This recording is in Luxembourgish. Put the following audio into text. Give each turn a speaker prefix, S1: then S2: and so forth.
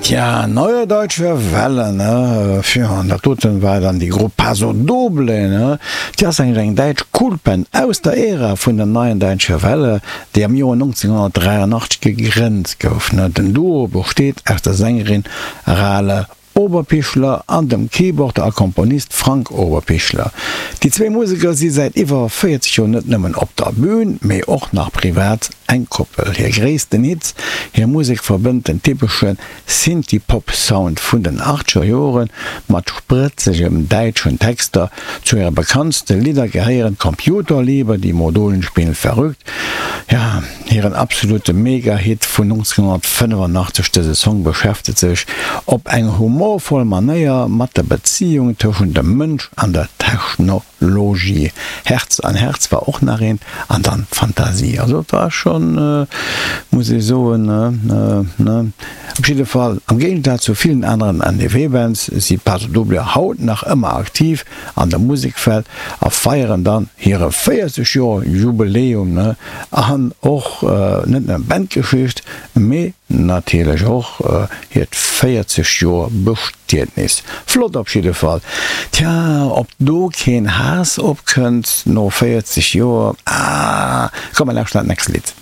S1: Tja, Neue Deutsche Welle, ne? Pfff, an dat doten war dann déi Grupp Paso Doble, ne? Déi ass eigentlich eng däitsch Kultband aus der Ära vun der Neuen Deutsche Welle, déi am Joer 1983 gegrënnt gouf, ne? Den Duo besteet aus der Sängerin Rale Oberpichler an dem Keyboarder a Komponist Frank Oberpichler. Déi zwéi Museker si säit iwwer 40 Joer net nëmmen op der Bün, mee och nach privat eng Koppel. Hir gréissten Hits, hir Musek verbënnt den typesche Synthie-Pop-Sound vun den achtzeger Jore mat sprëtzegem däitschen Texter. Zu hire bekanntste Lidder gehéieren Computerliebe, Die Modulen spielen verrückt, ja, Hiren absolute Mega-Hit vun 1985, dëse Song beschäftegt sech op eng humorvoll Manéier mat der Bezéiung tëschent dem Mënsch an der Technologie. Herz an Herz war och nach eent, an dann Fantasie. Also et war schonn, muss ee soen, ne? Op jidde Fall, am Géigesaz zu villen aneren NDW-Bands si Paso Doble haut nach ëmmer aktiv an der Musekwelt a feieren dann hire 40 Joer Jubiläum, ne? An och net nëmmen Bandgeschicht, mee natierlech och hiert 40 Joer Bestietnis. Flott op jidde Fall. Tja, ob do keen Haass opkënnt no 40 Joer, ah, komm mer lauschteren dat nächst Lidd.